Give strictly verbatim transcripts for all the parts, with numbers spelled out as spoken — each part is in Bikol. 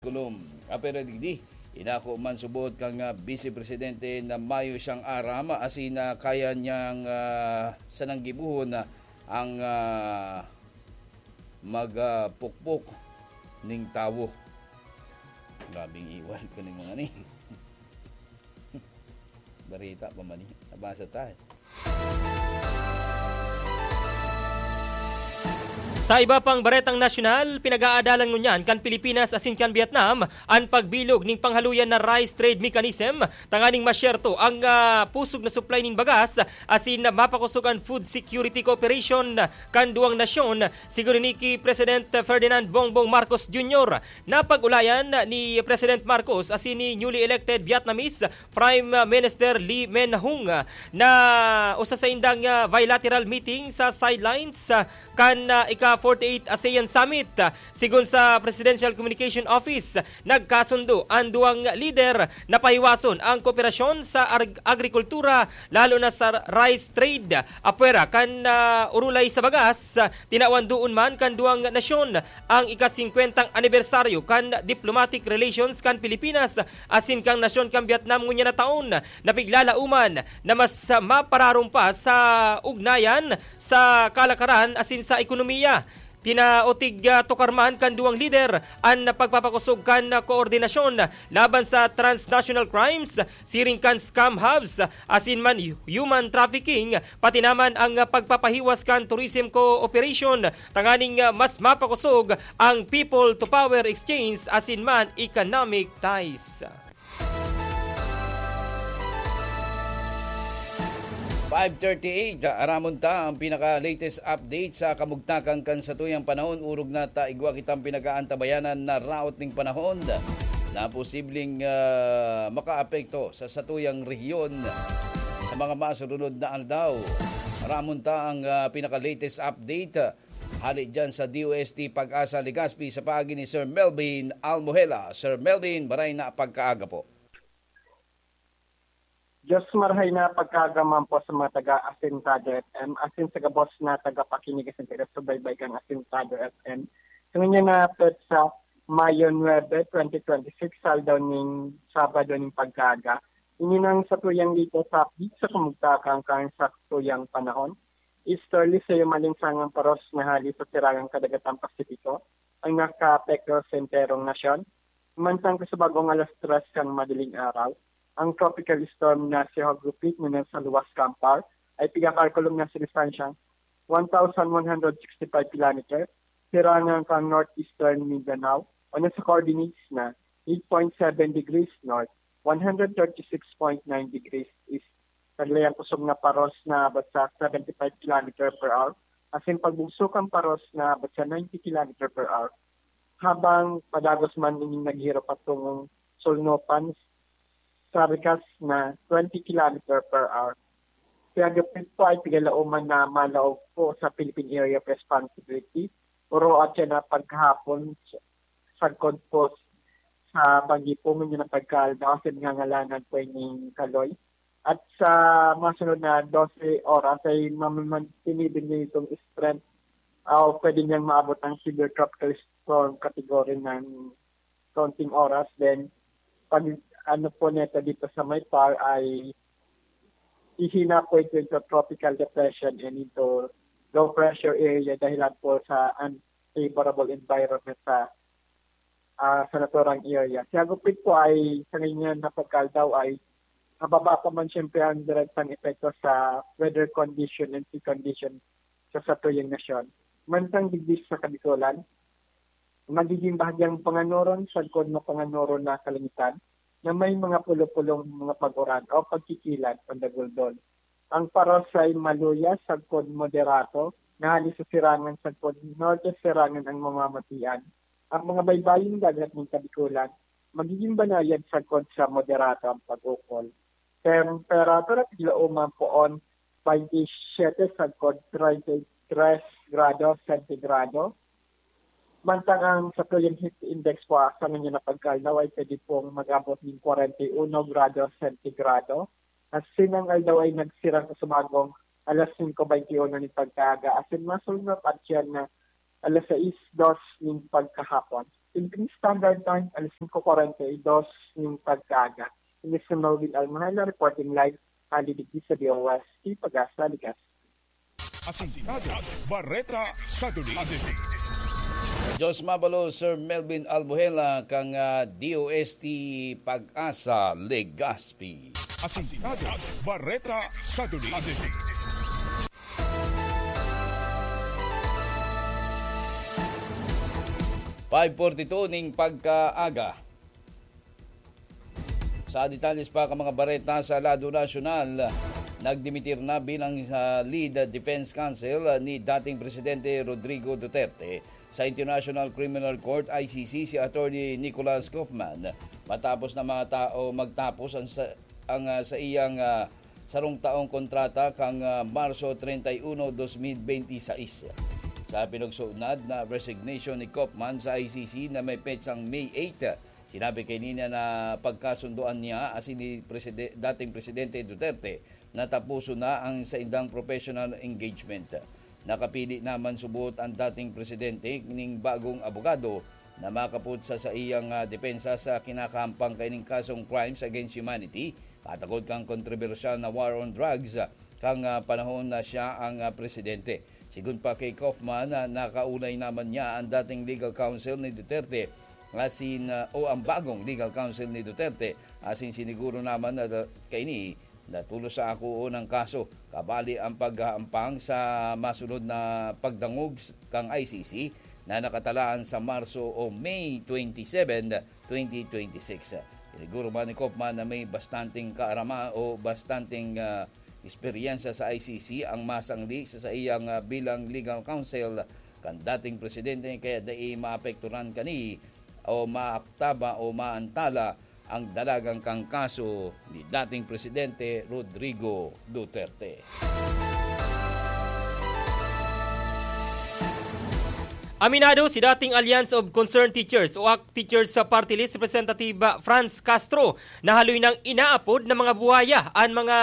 Kulom. Apera digdi, inako man subot kan, ah, Vice Presidente na mayo siyang aram asin na kaya niyang, ah, sanang gibohon na ang, ah, magpukpok ning tawo. Grabeng iwal ko ning mga ni. Barita pa man ni. Nabasa ta, eh. Sa iba pang baretang nasyonal, pinag-aadalan ngunyan kan Pilipinas asin kan Vietnam an pagbilog ning panghaluyan na rice trade mechanism tanganing masyerto ang, ah, pusog na supply nin bagas asin mapakosog an food security cooperation kan duwang nasyon, sigon ni ki President Ferdinand Bongbong Marcos Junior. Napag-ulayan ni President Marcos asin ni newly elected Vietnamese Prime Minister Lee Min Hung na usa saindang, ah, bilateral meeting sa sidelines, ah, kan, ah, ika forty-eight ASEAN Summit. Sigon sa Presidential Communication Office, nagkasundo an duwang lider na pahiwason ang kooperasyon sa ag-, agrikultura, lalo na sa rice trade, apwera kan, ah, urulay sa bagas. Tinawan duon man kan duwang nasyon ang ika-singkwentang anibersaryo kan diplomatic relations kan Pilipinas asin kan nasyon kan Vietnam ngunyan na taon, na piglalauman na mas mapararumpa sa ugnayan sa kalakaran asin sa ekonomiya. Tinaotig, ah, tukar man kan duwang lider an pagpapakosog kan koordinasyon laban sa transnational crimes, siring kan scam hubs, asin man human trafficking, pati naman ang pagpapahiwas kan tourism cooperation tanganing mas mapakosog ang people to power exchange asin man economic ties. Five thirty-eight, aramon ta ang pinaka-latest update sa kamugtakan kan satuyang panahon. Orog na ta igwa kitang pinag-aantabayanan na raot ning panahon na posibleng, ah, makaapekto sa satuyang rehiyon sa mga masurunod na aldaw. Aramon ta ang, ah, pinaka-latest update, ah, hali dyan sa D O S T PAGASA Legazpi sa paagi ni Sir Melvin Almohela. Sir Melvin, maray na pagkaaga po. Diyos, marahay na pagkaaga man po sa mga taga Asintado F M, asin sa gabos na tagapakinig asin taga-subaybay kan Asintado F M. Sa ngayon na petsa, Mayo nuebe, twenty twenty-six, aldaw nin Sabado nin pagkaaga. Ini nang satuyang latest update sa kamugtakan kan satuyang panahon. Easterly sa malinsangang paros na hali sa sirangang kadagatang Pasipiko ang nakaapekto sa enterong nasyon. Mantang kasubagong alas tres kan madaling araw, ang Tropical Storm Nancy hugupit na nasa luwas kan Par ay pigkakalkulong na sa distansyang one thousand one hundred sixty-five kilometer, sirangan kan northeastern Mindanao o nasa coordinates na eight point seven degrees north, one hundred thirty-six point nine degrees east. Naglayang kusog na paros na abot sa seventy-five kilometer per hour, asin pagbugso kan paros na abot sa ninety kilometer per hour. Habang padagos man ining naghiro patungong Solnopan sa rikas na twenty kilometer per hour. Kaya gabos po ay pigalaoman na malaog po sa Philippine Area of Responsibility, oro at siya na pagkahapon sagkod po sa pag-ipungan niya ng pagkaaldaw kasi nangangalanan po yung kaloy. At sa masunod na dose oras ay mamamantinibi niya itong strength o pwede niyang maabot ang severe tropical storm category ng kaunting oras. Then, pag ano po nito dito sa may Par ay hihina po ito into tropical depression and into low pressure area dahilan po sa unfavorable environment sa, ah, sa naturang area. Si Agupit po ay sa ngayon na pagkaaldaw ay mababa pa man siyempre ang direktang epekto sa weather condition and sea condition sa satuyang nasyon. Mantang digdi sa Kabikolan, magiging bahagyang panganoron sagkod na panganoron na kalangitan na may mga pulo-pulong mga pag-uran o pagkikilad pandaguldol. Ang paros ay maluya sagkod moderato na hali sa sirangan sagkod norte sirangan ang mamamatian. Ang mga baybayong dagat ng Kabikolan, magiging banayad sagkod sa moderato ang pag-ukol. Temperatura, tiglaoman poon, twenty-seven sagkod, treinta y tres grados sentigrado. Mantang ang satuyang heat index po sa ngayon na pagkaaldaw ay pwede pong mag-abot ng kwarenta y uno grados sentigrado. Asin ang aldaw ay nagsirang sa sumagong alas singko baynte uno nin pagkaaga. Asin masunod at siya na alas sais dos nin pagkahapon. Philippine Standard Time, alas singko kwarenta y dos nin pagkaaga. Ini si Melvin Almahela reporting live hali digdi sa D O S T Pag-asa, Legazpi. Asintado, Bareta sa Duli. Diyos mabalo, Sir Melvin Albuhela, kan, ah, D O S T Pag-asa, Legazpi. Asintado, Bareta sa Duli. Five forty-two ning pagkaaga. Sa detalles pa kan mga bareta sa lado nasyonal, nagdimitir na bilang, ah, lead defense counsel, ah, ni dating Presidente Rodrigo Duterte sa International Criminal Court, I C C, si Attorney Nicholas Koffman, matapos na mga tao magtapos ang sa, ang, ah, sa iyang, ah, sarong taong kontrata kan, ah, Marso treinta y uno, dos mil benti sais. Sa pinagsunod na resignation ni Koffman sa I C C na may petsang May eight, sinabi kaini na pagkasundoan niya asin ni Preside-, dating Presidente Duterte na taposon na ang saindang professional engagement. Nakapili naman subot ang dating presidente ning bagong abogado na makapot sa saiyang, ah, depensa sa kinakahampang kaining kasong crimes against humanity, katakod kan kontrobersyal na war on drugs, ah, kan, ah, panahon na siya ang, ah, presidente. Sigon pa kay Kaufman, ah, nakaulay naman niya ang dating legal counsel ni Duterte, asin, ah, o ang bagong legal counsel ni Duterte, asin siniguro naman na da-, kaini na tulos sa akoon ang kaso, kabali ang paghahampang sa masunod na pagdangog s-, kang I C C na nakatalaan sa Marso o May twenty-seven, twenty twenty-six. Siniguro man ni Kaufman na may bastanteng kaarama o bastanteng, ah, eksperyensya sa I C C ang masangli sa saiyang, ah, bilang legal counsel kan dating presidente, kaya dai maapekturan kani o maaktaban o maantala ang dalagan kan kaso ni dating Presidente Rodrigo Duterte. Aminado si dating Alliance of Concerned Teachers o ACT Teachers sa Party List Representative Franz Castro na haloy nang inaapod na mga buwaya an mga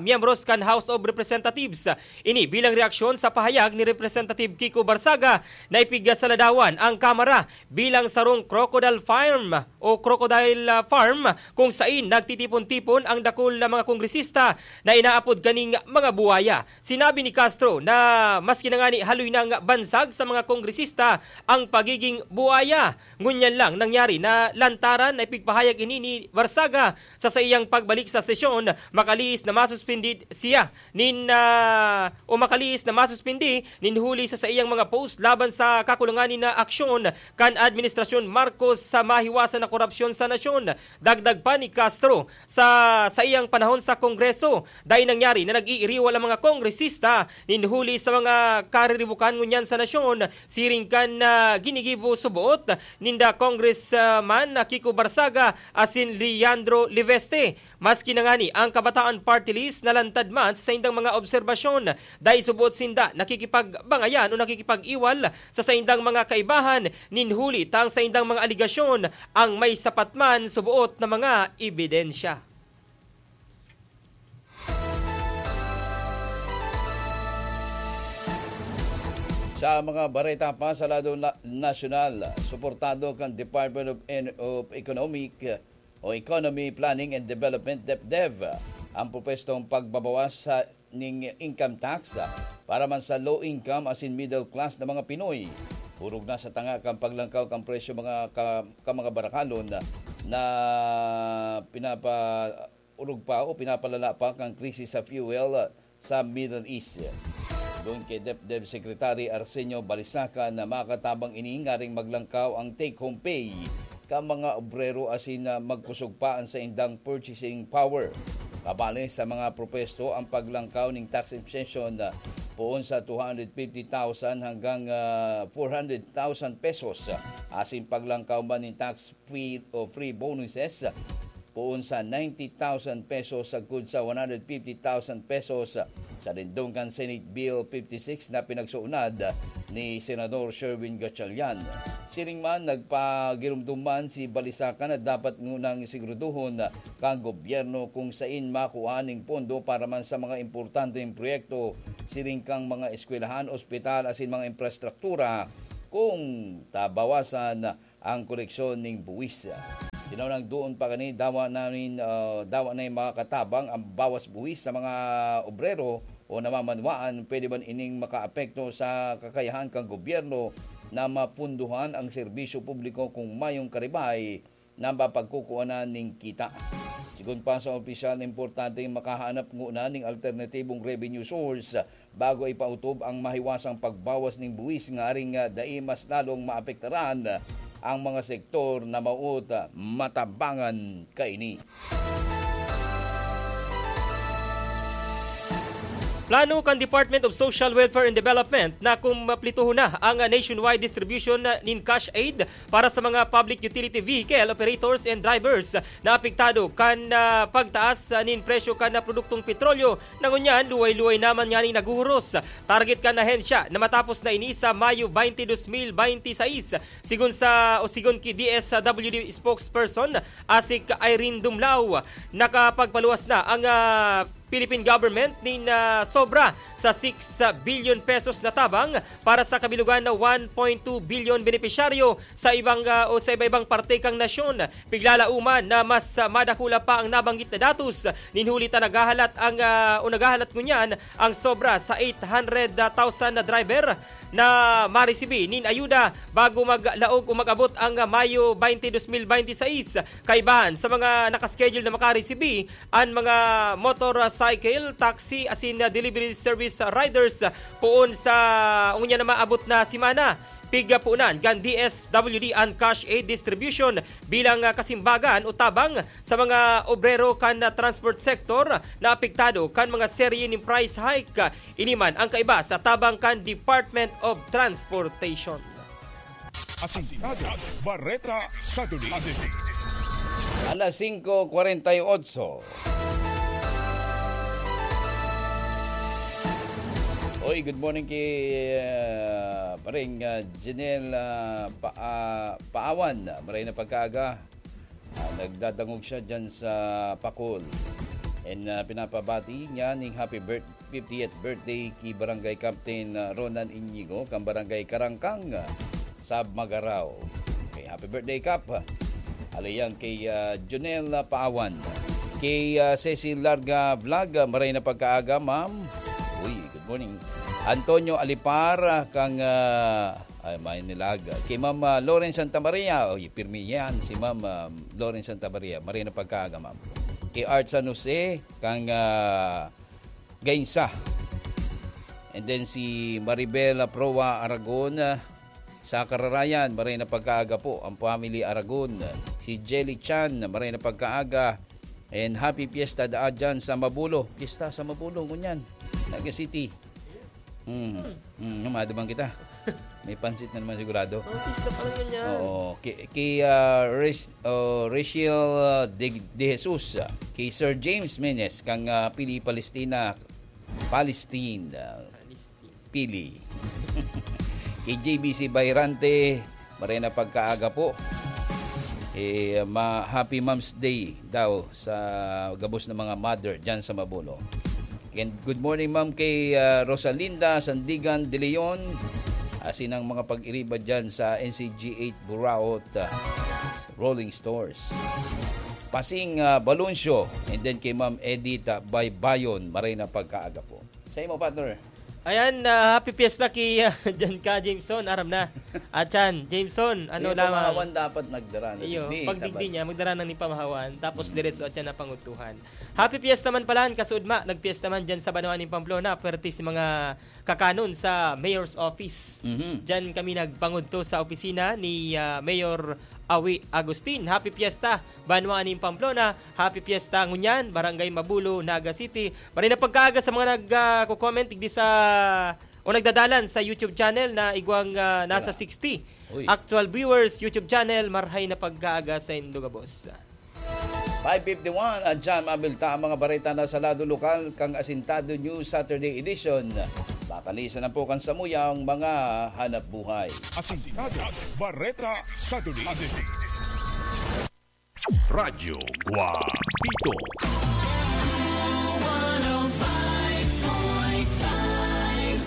miyembros kan House of Representatives. Ini bilang reaksyon sa pahayag ni Representative Kiko Barsaga na ipigsasaladawan ang Kamara bilang sarong crocodile farm o crocodile, ah, farm kung sain nagtitipon-tipon ang dakul na mga kongresista na inaapod kaning mga buwaya. Sinabi ni Castro na maski na ngani haloy nang bansag sa mga kongresista ang pagiging buwaya, ngunyan lang nangyari na lantaran na ipigpahayag ini ni Barsaga sa saiyang pagbalik sa sesyon, makalihis na masuspindi siya nin, ah, o makalihis na masuspindi nin huli sa saiyang mga post laban sa kakulangan nin aksyon kan Administrasyon Marcos sa mahiwasan na korupsyon sa nasyon. Dagdag pa ni Castro, sa saiyang panahon sa Kongreso, dai nangyari na nag-iiriwal ang mga kongresista nin huli sa mga kariribukan ngunyan sa nasyon, siring kan, ah, ginigibo subot ninda Congressman Kiko Barsaga asin Leandro Leviste. Maski na ngani ang Kabataan Party List nalantad man sa saindang mga obserbasyon, dai subot sinda nakikipagbangayan o nakikipag-iwal sa saindang mga kaibahan nin huli ta ang saindang mga aligasyon ang may sapat man suboot na mga ebidensya. Sa mga bareta pa sa lado na-, nasyonal, suportado kan Department of En-, of Economic o Economy Planning and Development, DepDev, ang propwestong pagbabawas sa ning income tax para man sa low income asin middle class na mga Pinoy. Orog na sa tanga kan paglangkaw kan presyo mga ka, ka mga barakalon na pinapa orog pa o pinapalala pa kan krisis sa fuel sa Middle East. Doon kay DepDev Secretary Arsenio Balisaca na makatabang ini ngaring maglangkaw ang take-home pay kan mga obrero asin na magkusog pa ang saindang purchasing power. Kabali sa mga propesto ang paglangkaw ning tax exemption na poon sa two hundred fifty thousand hanggang, ah, four hundred thousand pesos, asin paglangkaw man ning tax free o free bonuses poon sa ninety thousand pesos sagkod sa one hundred fifty thousand pesos sa lindong kan Senate Bill fifty-six na pinagsuunad ni Senador Sherwin Gatchalian. Siring man, nagpagiromdom man si Balisaca na dapat ngunang siguraduhon kan gobyerno kung sain makua ning pondo para man sa mga importanteng proyekto, siring kan mga eskwelahan, ospital asin mga infrastruktura, kung tabawasan ang koleksyon ning buwis. Tinaw nang doon pa kani, dawa namin, ah, dawa na yung mga katabang ang bawas buwis sa mga obrero o namamanwaan. Pwede man ining makaapekto sa kakayahan kan gobyerno na mapunduhan ang serbisyo publiko kung mayong karibay na mapagkukuhanan ning kita. Sigon pa sa opisyal, importanteng makahanap nguna ning alternatibong revenue source bago ipautob ang mahiwasang pagbawas ning buwis, ngaring, ah, dai mas lalong maapektaran ang mga sektor na maot, ah, matabangan kaini. Plano kan Department of Social Welfare and Development na kumplituhon na ang nationwide distribution nin cash aid para sa mga public utility vehicle operators and drivers na apektado kan, ah, pagtaas, ah, nin presyo kan, ah, produktong petrolyo na ngunyan luway-luway naman nganing naghuhuros. Target kan ahensya na matapos na ini sa Mayo twenty, dos mil bente seis. Sigon sa, o sigon ki D S W D spokesperson, Asik Irene Dumlao, nakapagpaluwas na ang, ah, Philippine government nin, ah, sobra sa six billion pesos na tabang para sa kabilugan na one point two billion benepisyaryo sa ibang, ah, o sa iba-ibang parte kan nasyon. Piglalauman na mas, ah, madakula pa ang nabanggit na datos nin huli ta naghahalat ang, ah, o naghahalat ngunyan ang sobra sa eight hundred thousand na driver na maresibi nin ayuda bago maglaog o mag-abot ang, ah, Mayo twenty, dos mil bente seis. Kaibahan sa mga nakaschedule na makaresibi, an mga motorcycle, taxi asin, ah, delivery service riders poon sa ngunyan na maabot na semana. Pigpunan kan D S W D an cash aid distribution bilang, ah, kasimbagan o tabang sa mga obrero kan, ah, transport sector na apektado kan mga serye nin price hike. Ini man ang kaiba sa tabang kan Department of Transportation. Asintado, Bareta, Saturday. Alas singko kwarenta y otso. Oy, good morning kay, ah, pareng, ah, Janelle, ah, Pa-, ah, Paawan. Maray na pagkaaga. Ah, nagdadangog siya dyan sa Pakol. And, ah, pinapabati niya ning happy birth-, fiftieth birthday ki Barangay Captain, ah, Ronan Iñigo, kan Barangay Karangkang, ah, sa Magarao. Okay, happy birthday, Kap. Hali yan kay, ah, Jonel, ah, Paawan. Kay, ah, Cecil Larga Vlog, ah, maray na pagkaaga, ma'am. Uy, good morning. Antonio Alipar, ah, kang, ah, ay, may nilag. Kay Ma'am, ah, Lauren Santa Maria. Uy, pirmi yan si Ma'am, ah, Lauren Santa Maria. Maray na pagkaaga, ma'am. Kay Art San Jose, kang, ah, Gainsa. And then si Maribel Proa Aragon, ah, sa Kararayan, maray na pagkaaga po, ang family Aragon. Si Jelly Chan, maray na pagkaaga. And happy fiesta daa dyan sa Mabulo. Fiesta sa Mabulo, ngunyan. Naga City. Hmm. Hmm, madumang kita. May pansit na naman sigurado. Oh, pista pa lang yan. Oo. Kay, kay, ah, Res-, oh, Rachel, ah, De, De Jesus, ah, kay Sir James Menes, kang, ah, Pili Palestina, Palestine, ah, Pili. Kay J B C Bayrante, maray na pagkaaga po. Eh, ma-, happy Mom's Day daw sa gabos ng mga mother dyan sa Mabulo. And good morning, ma'am, kay, ah, Rosalinda Sandigan de Leon, asin ang mga pag-iriba dyan sa N C G eight Buraot, ah, Rolling Stores. Pasing, ah, Baloncio, and then kay Ma'am Edith, ah, Baybayon, maray na pagkaaga po. Sa imo, partner? Ayan, ah, happy fiesta ki, ah, Jan ka, Jameson, aram na. At Chan, Jameson, ano Yung lamang. Pamahawan dapat nagdara na Iyo, digdi, pagdigdi dapat. Niya, magdara nang ni pamahawan, tapos Mm. diretso at siya na pangutuhan. Happy fiesta man pala, an kasuudma, nagpiesta man dyan sa banwa nin Pamplona, pwerte si mga kakanon sa Mayor's Office. Mhm. Dyan kami nagpangudto sa opisina ni, ah, Mayor Awi Agustin. Happy fiesta, banwa nin Pamplona. Happy fiesta ngunyan, Barangay Mabulo, Naga City. Maray na pagkaaga sa mga nag, ah, ko-comment digdi sa, o nagdadalan sa YouTube channel na igwang, ah, nasa Tara. sixty Uy. actual viewers, YouTube channel. Marhay na pagkaaga sa indo gabos. Five fifty-one, at dyan mabilta ang mga bareta na sa lado lokal kang Asintado News Saturday Edition. Pakalisan na po kan samuyang mga hanap buhay. Asintado, Bareta, Saturday Edition. Radyo Guapito.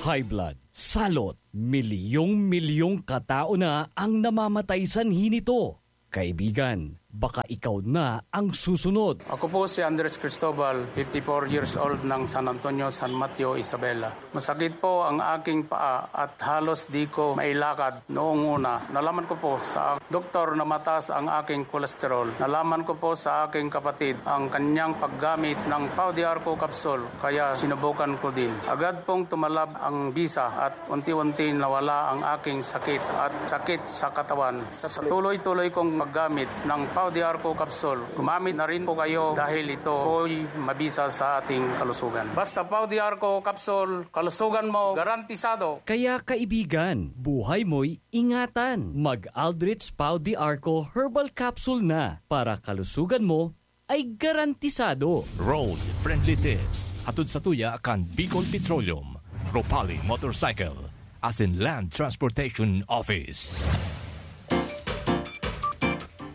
high blood, salot. Milyong-milyong katao na ang namamatay sanhi nito. Kaibigan, baka ikaw na ang susunod. Ako po si Andres Cristobal, fifty-four years old, ng San Antonio, San Mateo, Isabela. Masakit po ang aking paa at halos di ko mailakad noong una. Nalaman ko po sa doktor na mataas ang aking kolesterol. Nalaman ko po sa aking kapatid ang kanyang paggamit ng Pau de Arco capsule, kaya sinubukan ko din. Agad pong tumalab ang bisa at unti-unti nawala ang aking sakit at sakit sa katawan. Sa tuloy-tuloy kong paggamit ng Pau de Arco capsule, gumamit na rin po kayo dahil ito po'y mabisa sa ating kalusugan. Basta Pau de Arco capsule, kalusugan mo garantisado. Kaya kaibigan, buhay mo'y ingatan. Mag-Aldrich Pau de Arco Herbal Capsule na para kalusugan mo ay garantisado. Road Friendly Tips. Hatod sa tuya kan Bicol Petroleum, Ropali Motorcycle, asin Land Transportation Office.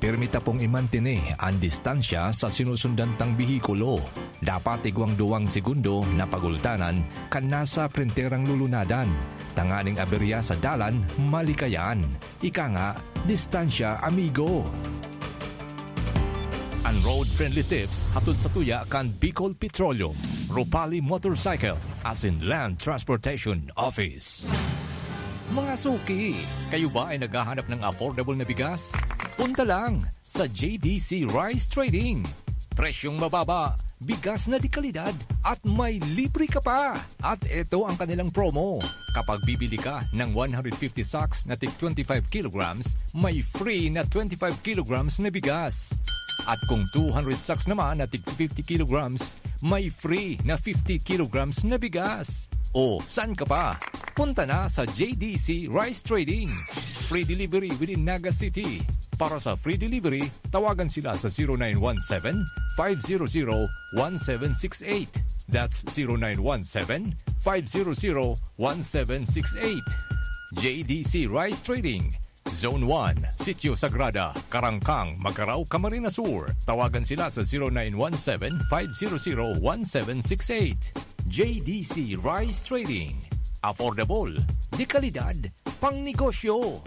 Pirmi ta pong imantini an distansya sa sinusundan tang behikulo. Dapat igwang duwang segundo na pagultanan kan nasa printerang lulunadan, tanganing aberya sa dalan malikayan. Ika nga, distansya, amigo. An road-friendly tips hatod sa tuya kan Bicol Petroleum, Ropali Motorcycle, asin Land Transportation Office. Mga suki, kayo ba ay naghahanap ng affordable na bigas? Punta lang sa J D C Rice Trading. Presyong mababa, bigas na de kalidad, at may libre ka pa! At eto ang kanilang promo. Kapag bibili ka ng one hundred fifty sacks na tig twenty-five kilograms, may free na twenty-five kilograms na bigas. At kung two hundred sacks naman na tig fifty kilograms, may free na fifty kilograms na bigas. O, saan ka pa? Punta na sa J D C Rice Trading. Free delivery within Naga City. Para sa free delivery, tawagan sila sa zero nine one seven, five zero zero, one seven six eight. That's zero nine one seven, five zero zero, one seven six eight. J D C Rice Trading, Zone one, Sitio Sagrada, Karangkang, Magarao, Camarines Sur. Tawagan sila sa zero nine one seven, five zero zero, one seven six eight. J D C Rice Trading. Affordable, de kalidad, pang negosyo.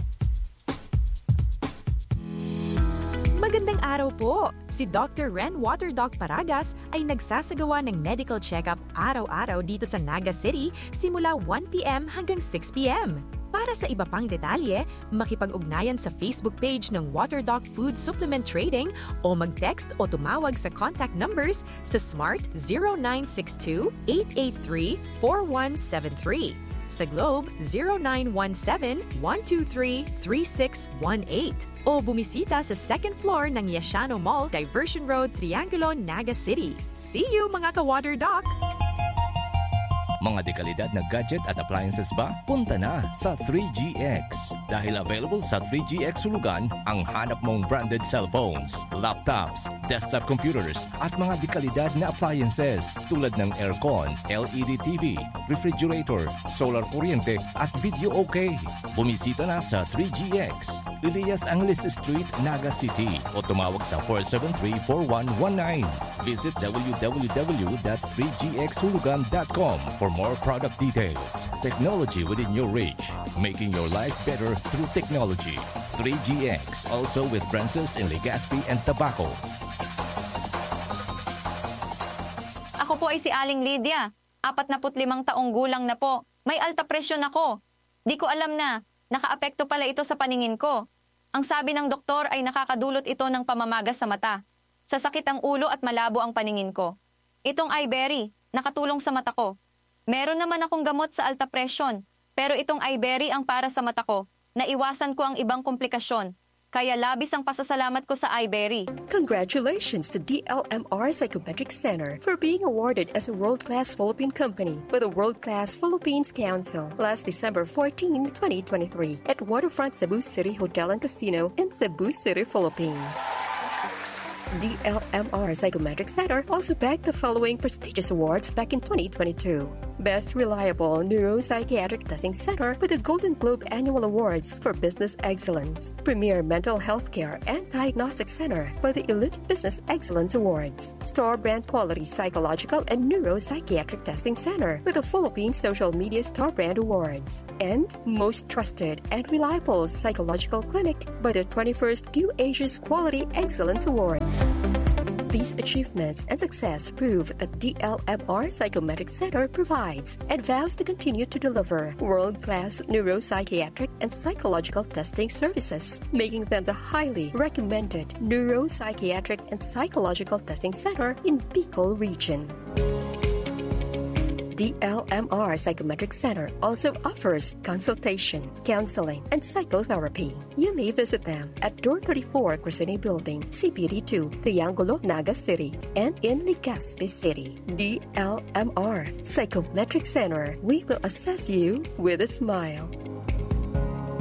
Magandang araw po! Si Doctor Ren Water Doc Paragas ay nagsasagawa ng medical check-up araw-araw dito sa Naga City simula one p m hanggang six p m. Para sa iba pang detalye, makipag-ugnayan sa Facebook page ng Water Doc Food Supplement Trading o mag-text o tumawag sa contact numbers sa Smart zero nine six two, eight eight three, four one seven three, sa Globe zero nine one seven, one two three, three six one eight, o bumisita sa second floor ng Yashano Mall, Diversion Road, Triangulo, Naga City. See you, mga ka-Water Doc! Mga dekalidad na gadget at appliances ba? Punta na sa three G X. Dahil available sa three G X Hulugan ang hanap mong branded cellphones, laptops, desktop computers, at mga dekalidad na appliances tulad ng aircon, L E D T V, refrigerator, solar kuryente, at video okay. Bumisita na sa three G X, Elias Angeles Street, Naga City, o tumawag sa four seven three, four one one nine. Visit w w w dot three g x hulugan dot com for more product details. Technology within your reach, making your life better through technology. Three G X, also with branches in Legazpi and Tabaco. Ako po ay si Aling Lydia, apat na put limang taong gulang na po. May alta presyon ako. Di ko alam na nakaapekto pala ito sa paningin ko. Ang sabi ng doktor ay nakakadulot ito ng pamamaga sa mata, sasakit ang ulo at malabo ang paningin ko. Itong Iberry, nakatulong sa mata ko. Meron naman akong gamot sa alta presyon, pero itong Iberry ang para sa mata ko. Naiwasan ko ang ibang komplikasyon. Kaya labis ang pasasalamat ko sa Iberry. Congratulations to D L M R Psychometric Center for being awarded as a world-class Philippine company by the World Class Philippines Council last December fourteen, twenty twenty-three at Waterfront Cebu City Hotel and Casino in Cebu City, Philippines. D L M R Psychometric Center also bagged the following prestigious awards back in twenty twenty-two. Best Reliable Neuropsychiatric Testing Center with the Golden Globe Annual Awards for Business Excellence. Premier Mental Health Care and Diagnostic Center with the Elite Business Excellence Awards. Star Brand Quality Psychological and Neuropsychiatric Testing Center with the Philippine Social Media Star Brand Awards. And most trusted and reliable psychological clinic by the twenty-first Q Asia's Quality Excellence Awards. These achievements and success prove that D L M R Psychometric Center provides and vows to continue to deliver world-class neuropsychiatric and psychological testing services, making them the highly recommended neuropsychiatric and psychological testing center in Bicol region. D L M R Psychometric Center also offers consultation, counseling, and psychotherapy. You may visit them at Door thirty-four, Crescene Building, C P D two, Triangulo, Naga City, and in Legazpi City. D L M R Psychometric Center. We will assess you with a smile.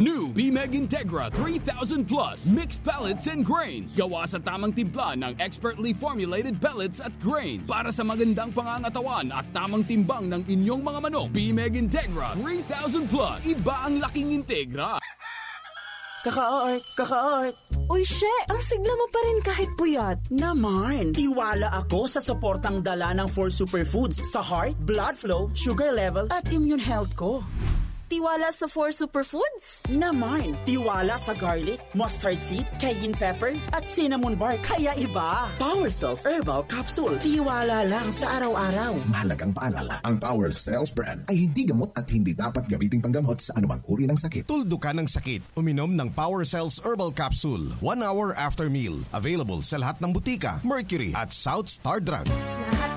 New Bimeg Integra three thousand Plus Mixed Pellets and Grains. Gawa sa tamang timpla ng expertly formulated pellets at grains para sa magandang pangangatawan at tamang timbang ng inyong mga manok. Bimeg Integra three thousand Plus. Iba ang laking Integra. Kaka-art, kaka-art. Uy, she! Ang sigla mo pa rin kahit puyat. Naman! Tiwala ako sa suportang dala ng four superfoods sa heart, blood flow, sugar level, at immune health ko. Tiwala sa four superfoods? Naman! Tiwala sa garlic, mustard seed, cayenne pepper, at cinnamon bark. Kaya iba! Power Cells Herbal Capsule. Tiwala lang sa araw-araw. Mahalagang paalala, ang Power Cells brand ay hindi gamot at hindi dapat gamiting panggamot sa anumang uri ng sakit. Tuldukan ang sakit. Uminom ng Power Cells Herbal Capsule one hour after meal. Available sa lahat ng butika, Mercury at South Star Drug. Lahat